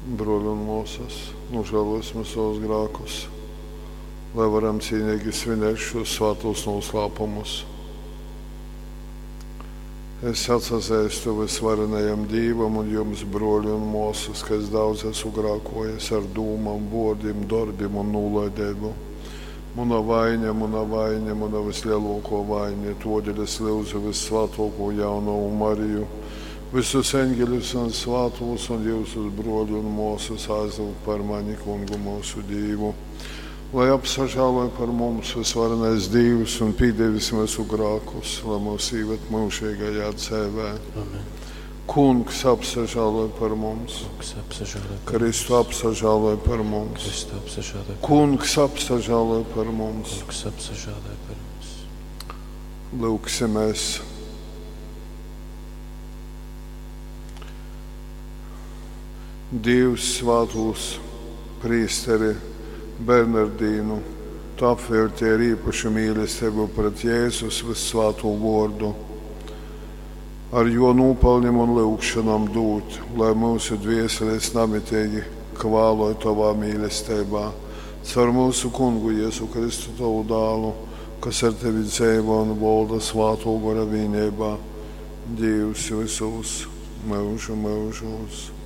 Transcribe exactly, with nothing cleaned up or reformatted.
Bruoļi un muosys, nožēlosim savus grēkus, lai varam cīnīgi svinēt šos svātos noslēpumus. Es atsazeistu vysvarenajam Dīvam un jums, bruoļi un muosys, ka es daudz esmu grākojis ar dūmom, vuordim, dorbim un nūlaideibu. Muna vaiņa, muna vaiņa, muna vislielāko vaiņa, todeļ es lyudzu vissvātāko jaunavu Mariju, visus eņģeļus un svātos un jūsus bruoļi un muosys aizlūgt par mani kungu mūsu Dīvu. Lai apsažāloj par mums vysvarenais Dīvs un pīdevis mūsu grākus, lai mūs īved mūžīgajā dzīvē. Amen. Kungs apsažāloj par mums. Kungs apsažāloj par Kristu apsažāloj par mums. Kristu apsažāloj par Kungs apsažāloj par mums. Kungs apsažāloj par mums. Lūgsimies. Dievs svātūs prīsteri Bernardīnu, tu apvelti ar īpašu mīlestību pret Jēzus vissvāto vārdu. Ar jo nopelnim un lūgšanām dūt, lai mūsu dvēseles namitīgi kvāloj tavā mīlestībā. Caur mūsu kungu Jēzu Kristu tavu dālu, kas ar tevi dzīvo un valda svāto gara vienībā, Dievs visos mūžu mūžos.